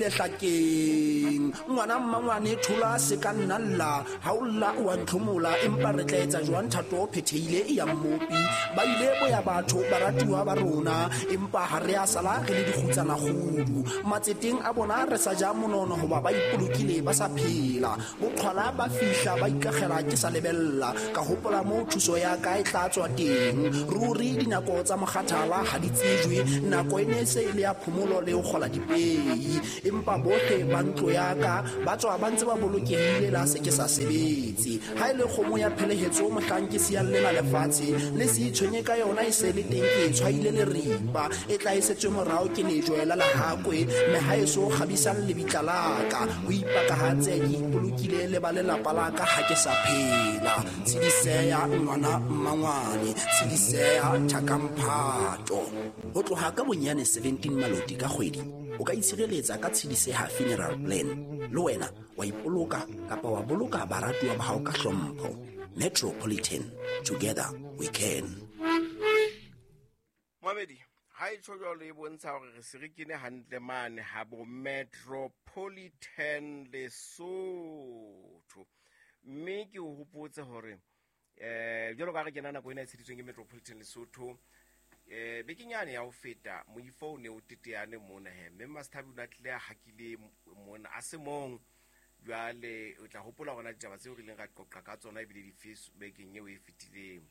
Lehlakeng ngwana mmangwane thola se ka nna lla ha o lla o a ntlhomola empa re tla etsa jwang thato o phethehile e ya mmopi ba ile boya batho baratuwa ba rona empa ha re a sala re le dikgutsana kgudu matseteng a bona re sa ja monono hoba ba ipolokile ba sa phela boqhwala ba fihla ba ikagela ke sa lebella ka hopola moo thuso ya ka e tla tswa teng ruri dinako tsa mokgathala ha di tsejwe nako e ne e se e le ya phomolo le ho kgola dipei empa bohle ba ntlo ya ka ba tswa ba ntse ba bolokehile la se ke sa sebetse ha e le kgomo ya phelehetso mohlang ke siyang lena lefatshe le se itshwenye ka yona e se le teng ke e tshwaile leripa e tla e setswe morao ke lejwe la lehakwe mme ha e so kgabisang lebitla la ka ho ipakahatse ke ipolokile le ba lelapa la ka ha ke sa phela tshediseya ngwana mmangwane tshediseya thakamphato ho tloha ka bonyane 17 maloti ka kgwedi o ka itshireletsa ka tshediseha funeral plan le wena wa ipoloka kapa wa boloka baratuwa ba hao ka hlompho Metropolitan, together we can. Moamedi, ha e tjho jwalo e bontsha hore re se re kene hantle mane ha bo Metropolitan Lesotho. Mme ke o hopotse hore eh jwalo ka re kena nako ena e tsheditsweng ke Metropolitan Lesotho eh bekeng yane ya ho feta moifo o ne o teteane mona he mme Masthabi o ne a tlile a hakile mona a se mong jwale o tla hopola gona ditaba tseo re ileng ra qoqa ka tsona ebile dife bekeng eo e fetileng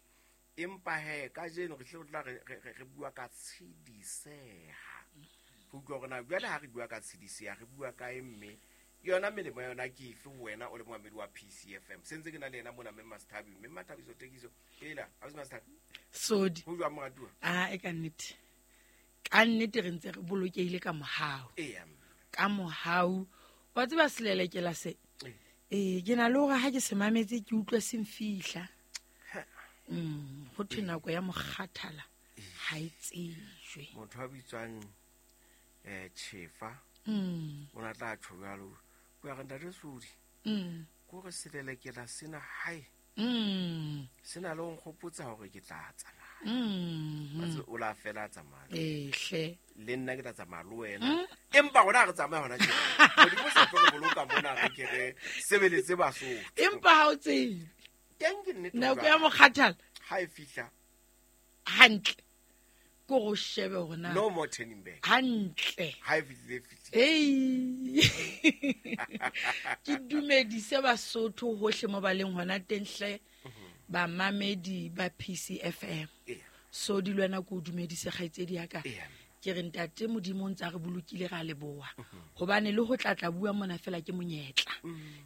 empa he kajeno re tle tla re bua ka tshediseha re utlwa gore na jwale ha re bua ka tshediseha re bua kae mme yona melemo ya yona ke efe ho wena o le moamedi wa PCFM sentse ke na le yena mona mme Masthabi mme Mathabiso Thekiso ela ausi Masthabi sodi ho jwang moratuwa a e ka nnete ka nnete re ntse re bolokehile ka mohau eya ka mohau wa tseba selelekela se ee ke na le gore ga ke se mametse ke utlwe se mfihla go thwe nako ya mokgathala ga e tsejwe motho a bitswang um chefa o ne a tla tjho jwalo ko ya re ntate Sodi ko re selelekela sena hae se na le ho nkgopotsa hore ke tla tsamaya Wa tseba, o la fela a tsamaya ehle le nna ke tla tsamaya le wena empa rona ha re tsamaya hona tjena modimo sa tlo re boloka mona re ke re sebeletse Basotho empa ha o tsebe teng ke nnete nako jwale. ya mokgathala ha e fihla hantle ko go shebe gore na no more turning back hantle ha e fihlile e fihlile ei ke dumedise Basotho hohle mo ba leng hona teng hle bamamedi ba PCFM Eya. so di le wena ko o dumedise kgaitsedi ya ka Eya. ke re ntate modimo o ntse a re bolokile ra leboha gobane le go tlatla bua mona fela ke monyetla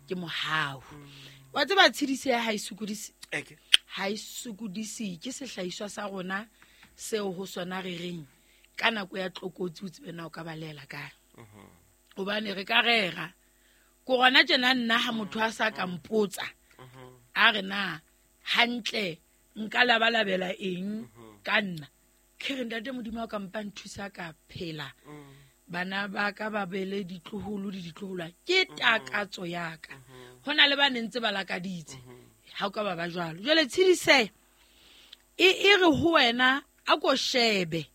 ke mohau wa tseba tshediso ya ha e sokodise Eke. ha e sokodise ke sehlahiswa sa rona seo ho sona re reng ka nako ya tlokotsi o tsebe na o ka balela kae gobane re ka rera ko gona tjena nna ha motho a sa ka mpotsa a re na hantle nka labalabela eng ka nna ke re ntate modimo a ka mpa nthusa ka phela bana ba ka ba bele ditloholo le ditloholwa ke takatso ya ka ho na le ba ne ntse ba lakaditse ha o ka ba ba jwalo jwale tshediseha e e re ho wena a ko shebe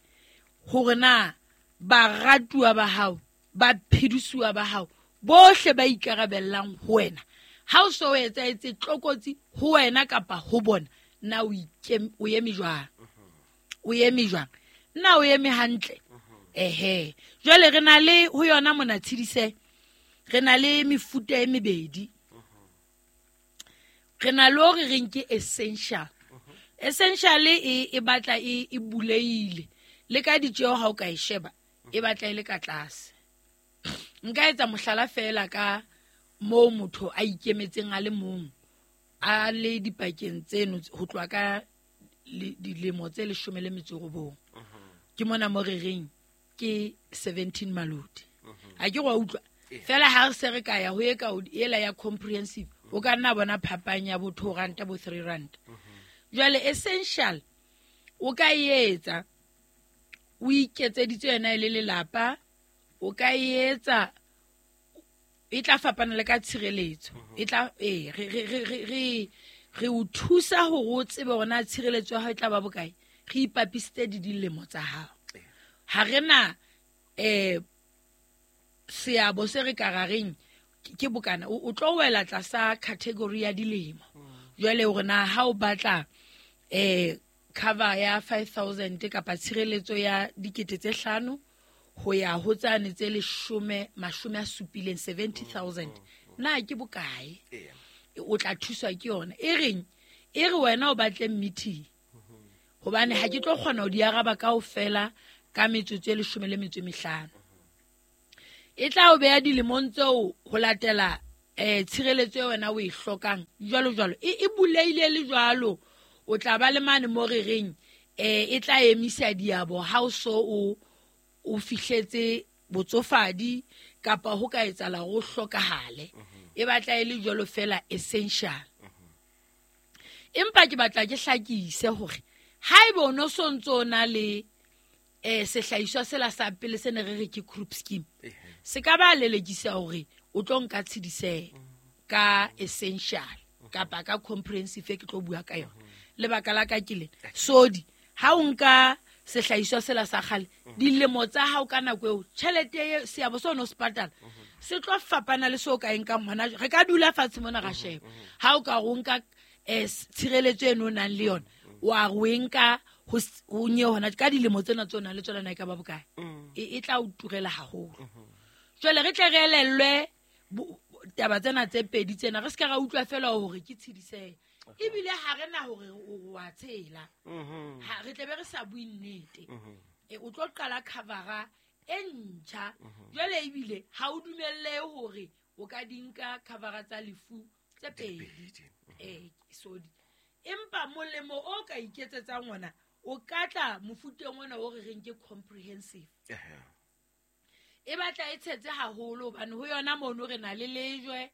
hore na baratuwa ba hao ba phedisuwa ba hao bohle ba ikarabellang ho wena ha o so o etsahetse tlokotsi ho wena kapa ho bona na o o eme jwang o eme jwang na o eme hantle ehe jwale re na le ho yona mona tshedise re na le mefuta e mebedi re na le hore re nke essential essential e e batla e e buleile le ka ditjeo ha o ka e sheba e batla e le ka tlase nka etsa mohlala fela ka moo motho a ikemetseng a le mong a le dipakeng tseno ho tloha ka dilemo tse 19 ke mona mo re reng ke 17 maloti a ke go utlwa fela ha re se re ka ya ho e ka ela ya comprehensive o ka nna bona phapang ya bo 2 rand bo 3 rand jwale essential o ka e etsa o iketseditse yona e le lelapa o ka e etsa e tla fapana le ka tshireletso e tla ee re o thusa hore o tsebe hore na tshireletso ya hao e tla ba bokae re ipapisitse di dilemo tsa hao ha re na Seabo se re ka rareng ke bokana o tlo wela tlasa category ya dilemo. Jwale hore na ha o batla cover ya 5000 kapa tshireletso ya 5,000 ho ya ho tsane tse 70 70,000 na ke bokae o tla thuswa ke yona e reng e re wena o batle meeting hobane ha ke tlo kgona ho di araba kaofela ka metsotso e 15 e tla o beha dilemong tseo ho latela tshireletso e wena o e hlokang jwalo jwalo e buleile le jwalo o tla ba le mane mo re reng e tla emisa diabo ha o so o fihletse botsofadi kapa ho ka etsahala ho hlokahale e batla e le jwalo fela essential. Empa ke batla ke hlakise hore haeba o no sontso na le sehlahiswa sela sa pele se ne re re ke group scheme se ka ba lelekisa hore o tlo nka tshedise ka essential kapa ka comprehensive ke tlo bua ka yona. Lebaka la ka ke le sodi ha o nka sehlahiswa sela sa kgale dilemo tsa hao ka nako eo tjhelete seabo se o no se patala se tlo fapana le seo ka e nkang hona. Re ka dula fatshe mona ra sheba ha o ka o nka tshireletso eno o nang le yona wa re o e nka ho nye hona ka dilemo tsena tse o nang le tsona na e ka ba bokae e tla o turela haholo. Jwale re tle re elellwe taba tsena tse pedi tsena re se ka ra utlwa fela hore ke tshedisehe ebile ha re na hore o wa tshela ha re tle be re sa bue nnete. O tlo qala covera e ntjha jwale ebile ha o dumelle hore o ka di nka covera tsa lefu tse pedi sodi. Empa molemo o ka iketsetsang ona o ka tla mofuteng ona o re reng ke comprehensive. E batla e tshetse haholo hobane ho yona mono re na le lejwe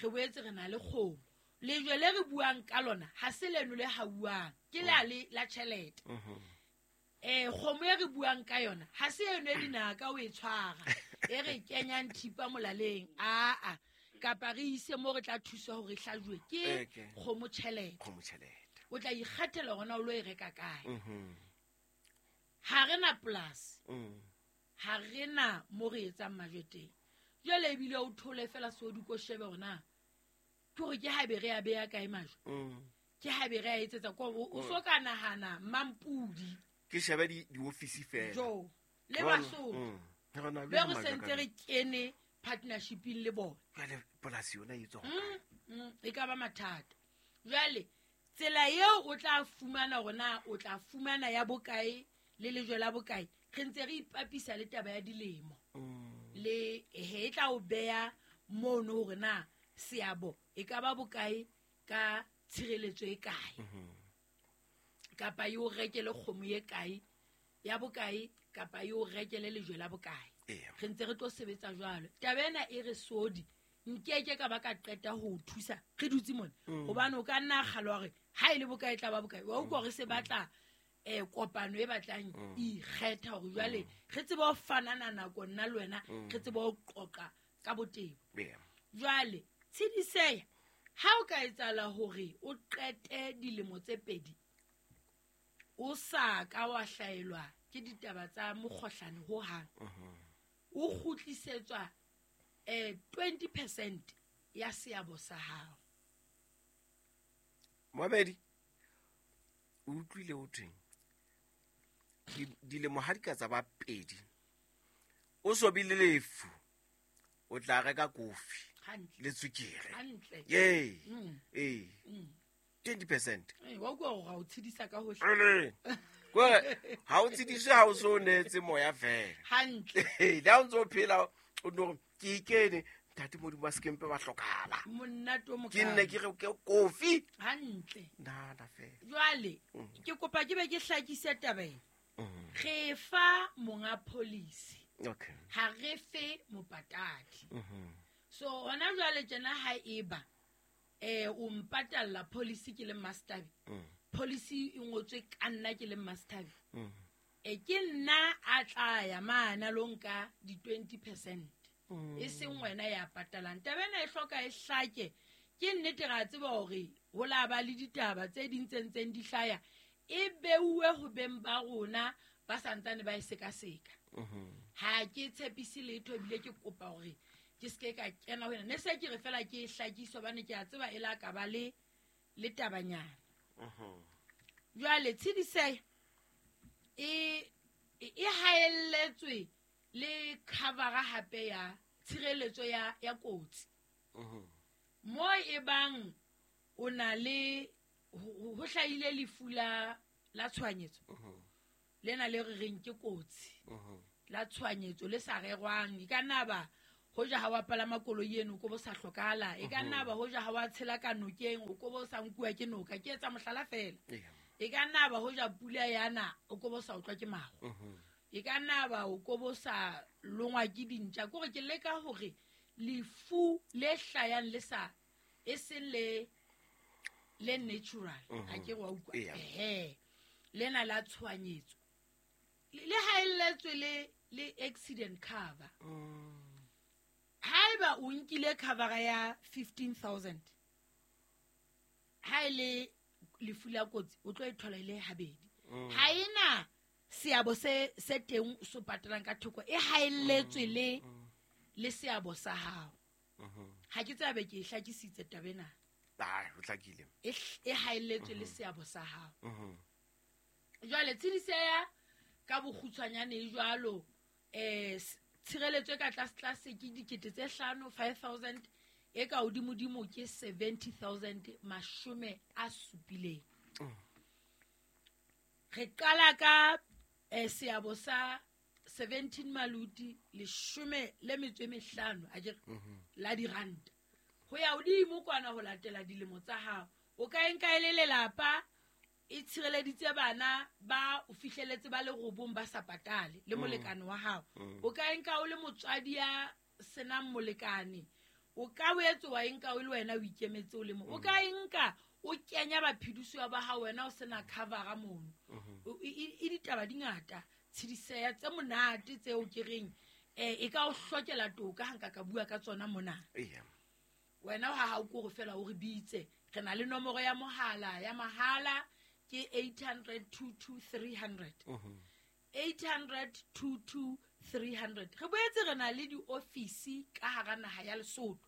re boetse re na le kgomo. Lejwe le re buang ka lona ha se leno le hauwang ke la le la tjhelete. Kgomo e re buang ka yona ha se eno e dinaka o e tshwara e re kenyang thipa molaleng aa kapa re ise mo re tla thusa hore hlajuwe ke kgomo tjhelete. O tla ikgethela hore o lo e reka kae. Ha re na polasi ha re na mo re etsang majwe teng. Jwale ebile o thole fela sodi ko shebe hore na ke hore ke haebe re a beha kae majwe ke haebe re a etsetsa ko o so ka nahana mampudi ke shebe di-office fela jo le Basotho be re sentse re kene partnershiping le bona jwale polasi yona e tswa e ka ba mathata. Jwale tsela eo o tla fumana hore na o tla fumana ya bokae le lejwe la bokae re ntse re ipapisa le taba ya dilemo le e tla o beha mono hore na seabo e ka ba bokae ka tshireletso e kae kapa e o rekele kgomo e kae ya bokae kapa e o rekele lejwe la bokae. Re ntse re tlo sebetsa jwalo. Taba ena e re sodi nkeke ka ba ka qeta ho o thusa re dutse mona hobane o ka nna kgalwa hore ha e le bokae tla ba bokae wa utlwa hore se batla kopano e batlang ikgetha hore jwale re tsebe ho fanana nako nna le wena re tsebe ho qoqa ka botebo. Jwale tshediseha ha o ka etsahala hore o qete dilemo tse pedi o sa ka wa hlaelwa ke ditaba tsa mokgohlane ho hang o kgutlisetswa 20% ya seabo sa hao. Mohamedi o utlwile ho thweng dilemo ha di ka tsa ba pedi o so bile lefu o tla reka kofi le tswekere ye 20% wa utlwa hore ha o tshedisa ka hohle ha o tshediswe ha o so neetse moya fela hantle le ha o ntso phela o no ke ikene ntate Modimo ba sekempe ba hlokahala monate o mokana ke nne ke re ke kofi hantle nana fela. Jwale ke kopa ke be ke hlakise taba ena. Re fa monga policy ha re fe mopatadi. So hona jwale tjena ha eba o mpatalla policy ke le master policy e ngotswe ka nna ke le master ke nna a tla ya mana lo nka di 20% e seng wena ya patalang. Taba ena e hloka e hlake ke nnete ra tseba hore ho la ba le ditaba tse ding tse ntseng di hlaya e beuwe ho beng ba rona ba santsane ba e sekaseka. Ha ke tshepise letho ebile ke kopa hore ke seke ka kena ho yena. Ne se ke re fela ke e hlakise hobane ke a tseba e la ka ba le tabanyana. Jwale tshediseho e haelletswe le covera hape ya tshireletso ya kotsi. Mo e bang o na le ho hlahile lefu la tshohanyetso. Lena le re reng ke kotsi. La tshohanyetso le sa rerwang. E ka nna ba hoja ha wa palama koloi eno o ko bo sa hlokahala. E ka nna ba hoja ha wa tshela ka nokeng o ko bo sa nkuwa ke noka. Ke etsa mohlala fela. E ka nna ba hoja pula yana o ko bo sa utlwa ke maru. E ka nna ba o ko bo sa longwa ke dintja. Ke hore ke leka hore lefu le hlayang le sa e seng le natural. Ha ke re wa utlwa. Lena la tshohanyetso. Le haelletswe le accident cover. Haeba o nkile cover ya 15,000, ha e le lefu la kotsi o tlo e thola ile habedi. Ha ena seabo se teng so patalang ka thoko e haelletswe le seabo sa hao. Ha ke tsabe ke hlakisitse taba ena. Ho hlakile. E haelletswe le seabo sa hao. Jwale tshediseha ka bokgutshwanyane e jwalo, tshireletso e ka tlase ke 5,000, 5,000, e ka hodimodimo ke 70,000, 70. Re qala ka seabo sa 17 maluti 15 a ke la diranta. Ho ya hodimo kwana ho latela dilemo tsa hao. O ka enka e le lelapa e tshireleditse bana ba o fihleletse ba le robong ba sa patale le molekane wa hao. O ka enka o le motswadi ya senang molekane. O ka boetse wa enka o le wena o ikemetse o le mo. O ka enka o kenya baphedisuwa ba hao wena o sena covera mono. E ditaba di ngata tshediseha tse monate tseo ke reng e ka o hlokela toka ha nka ka bua ka tsona mona. Wena ha o kore fela o re bitse. Re na le nomoro ya mohala ya mahala ke 800 22 300. 800 22 300. Re boetse re na le diofisi ka hara naha ya Lesotho.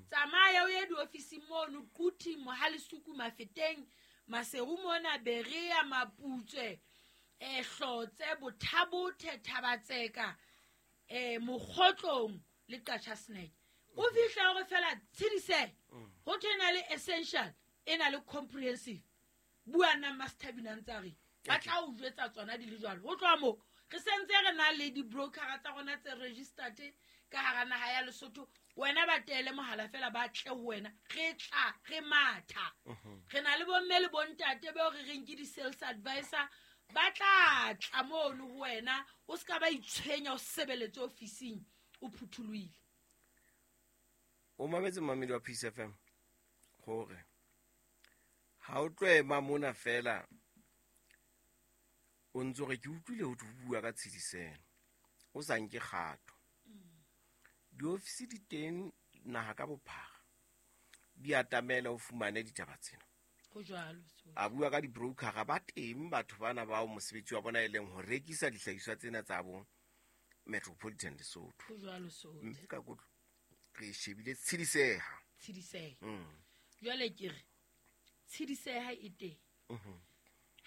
Tsamaya o ye diofisi mono Quti, Mohalesuku, Mafeteng, Maseru mona, Berea, Maputswe, Hlotse, Bothabothe, Thabatseka, Mokgotlong le Qacha's Nek. O fihla hore fela tshedise ho thwe na le essential e na le comprehensive. Bua nna Master Bina ntse a re ba tla o jwetsa tsona di le jwalo. Ho tloha moo re sentse re na le di-brokera tsa rona tse registered ka hara naha ya Lesotho. Wena ba teele mohala fela ba tle ho wena. Re tla re matha. Re na le bomme le bontate bao re reng ke di-sales advisor ba tla tla mono ho wena. O ska ba itshwenya o sebeletse ofising o phuthulohile. O mametse mamedi wa Peace FM hore ha o tlo ema mona fela o ntso re ke utlwile ho bua ka tshediselo o sa nke kgato. Diofisi di teng naha ka bophara di atamela o fumane ditaba tsena. Ho jwalo. A bua ka di-brokera ba teng batho bana bao mosebetsi wa bona e leng ho rekisa dihlahiswa tsena tsa bo Metropolitan Lesotho. Ho jwalo so. Mme ka kotlo re shebile tshediseha. Tshediseha. Jwale ke re tshediseha e teng.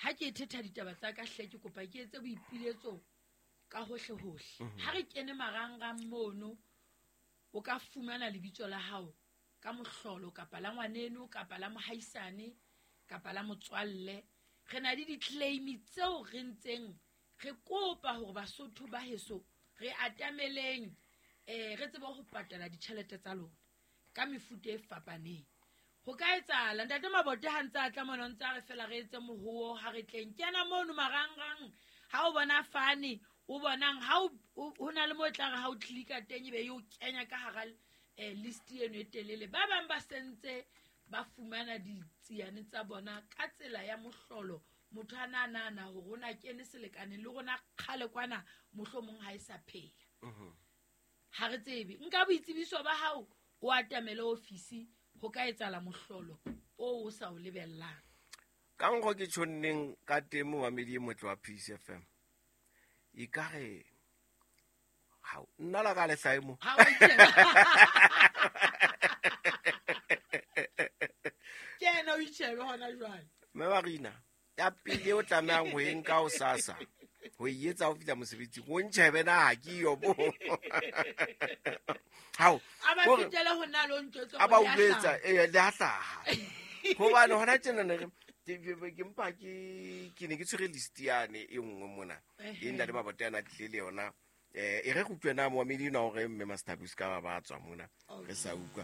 Ha ke thetha ditaba tsa ka hle ke kopa ke etse boipiletso ka hohle hohle. Ha re kene marangrang mono o ka fumana lebitso la hao ka mohlolo kapa la ngwaneno kapa la mohaisane kapa la motswalle. Re na le di-claim tseo re ntseng re kopa hore Basotho ba heso re atameleng re tsebe ho patala ditjhelete tsa lona ka mefuta e fapaneng. Ho ka etsahala ntate Mabote ha ntse a tla mona ntse a re fela re etse mohoo ha re tleng. Kena mono marangrang ha o bona fane o bonang ha o na le mo tla re ha o clicka teng ebe yo kenya ka hara list eno e telele. Ba bang ba sentse ba fumana ditsiane tsa bona ka tsela ya mohlolo. Motho a na nahana hore o na kene selekaneng le rona kgale kwana mohlomong ha e sa phela. Ha re tsebe. Nka boitsebiso ba hao o atamele ofisi ho ka etsahala mohlolo o sa o lebellang. Ka nkgo ke tjhonneng ka teng momamedi e motle wa Peace FM. Ekare Hao, nna la ka le hlae mo. Ha wa itjheba. Ke yena o itjhebe hona jwale. Mme Marina, ya pele o tlamehang ho e nka o sasa ho e etsa o fihla mosebetsing, o ntjhebe na ha ke yo bo. Hao, A ba hore- fetele ho nna le o ntjwetse a ba hore le a utlwetsa hlaha. ee le a hlaha. Hobane hona tjena ne re ke mpa ke ne ke tshwere list yane e nngwe mona e nna le mabote ana tlile le yona. E re go utlwe na moamedi na hore mme Master Bus ka ba ba tswa mona re sa utlwa.